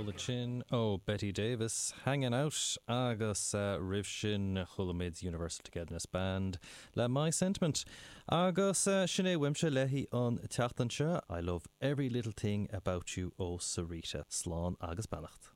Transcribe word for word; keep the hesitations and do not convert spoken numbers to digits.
Ceol ansin ó Betty Davis Hanging Out agus uh, roimh sin chuala muid Universal Togetherness Band le My Sentiment. Agus uh, sin é uaimse le haghaidh an tseachtain seo I love every little thing about you ó Sarita slán agus beannacht.